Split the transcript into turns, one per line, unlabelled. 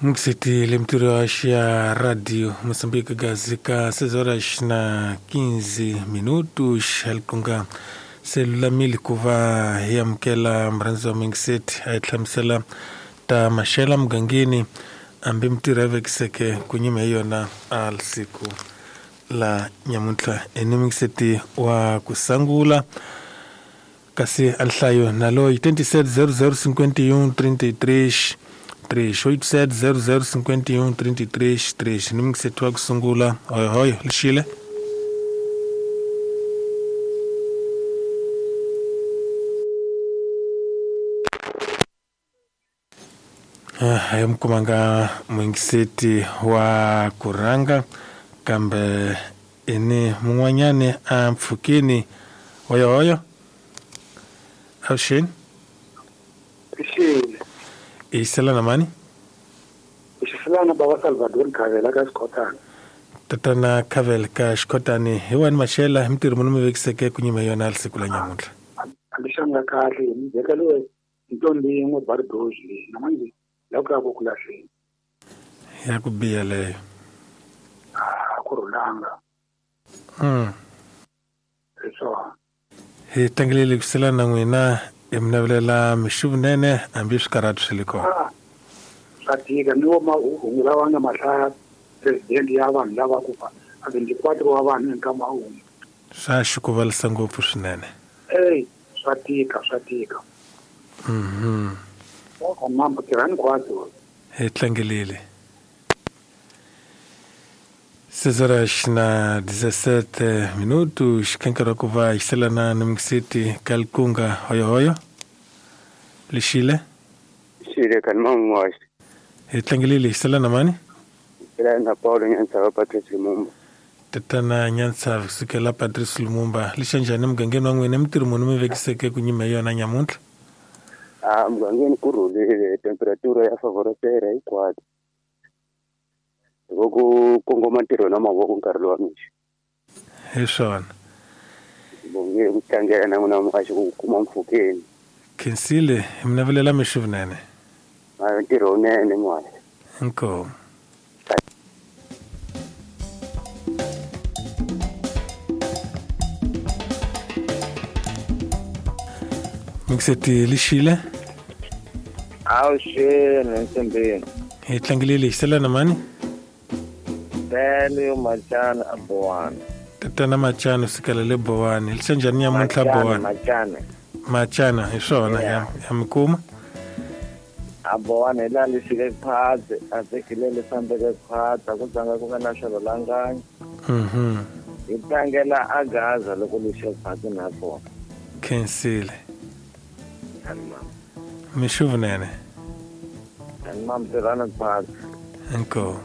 Mixiti lemtiro ya radio Moçambique gazika 6 horas na 15 minutos halikunga selulamile ku va hi amukela murhandzi wa Mixiti a hi hlamusela ta maxela mugangeni hambi mitirho ya vekiseke ku nyima hi yona a siku la nyamuntlha eni Mixiti wa ku sangula kasi a nhlayo na loyi 27 00 51 33 3 87 00 51 33 3 ni Mixiti wa ku sungula hoyohoyo lixile hi mi kumanga muyingiseti wa ku rhanga kambe ini mun'wanyani a mpfhukini hoyohoyo avuxeni
Xile.
Isela na mani
Xisilana baba Salvador Khavela ka Xikhotana.
Tatana Khavela ka Xikhotani hi wani maxela hi mitirho muni mi vekiseke ku nyima yona siku la nyamuntlha.
Alixanga kahle mi vekeliwe ntombi yin'we bardoji leyi na manje la ku ya ku lahleni.
Ya ku biha leyo.
A ku rhulanga. Hi swona.
Hi tlangelele ku sela na n'wina hi mi navelela mixuvunene hambi swikarhati swi le kona.
Swa tika ni wo mahungu lawa nga mahlaya president ya vanhu lava ku fa a 24 wa vanhu hi nkama wun'we.
Swa xikuvalisa ngopfu swinene.
Ey, swa tika, swa tika. Mambo tirhani kwato.
Hi tlangelele. 6 horas na 17 minutos kankara ku va xiselana na Mixiti Kalkunga hoyohoyo lixile
xile kan man'waxi
hi tlangelile xiselana mani
na Paulo Nyantsava Patrice Lumumba.
Tatana Nyantsava kusukela Patrice Lumumba lixa njhani mugangeni wa n'wina mitirho muni mi vekiseke ku nyima hi yona nyamuntlha?
A mugangeni ku rhulile temperatura ya favorisera hinkwato loko ku kongoma ntirho na mavoko nkarhi lowa mixo.
Hi swona.
Bonge ku tlangela na n'wina muhaxi ku kuma mpfhukeni.
Khensile hi mi navelela mixo vunene.
A ntirho wunene muhaxi.
Inkomu. Mixeti lixile.
Avuxeni nsimbini.
Hi tlangelile xisela na mani?
Bele Machana a Bowani.
Tatana Machana sukela le Bowani. Lixa njhani nyamuntlha Bowani?
Machana.
Machana hi swona ya mi kuma.
A Bowani hi laha li fike khwatsi a tekile li fambeke khwatsi a ku tsanga ku nga na swilo langanyi. Hi tlangela a Gaza loko li xe khwatsi na kona.
Khensile. Mixuvunene.
Mam tirhani khwatsi.
Inkomu.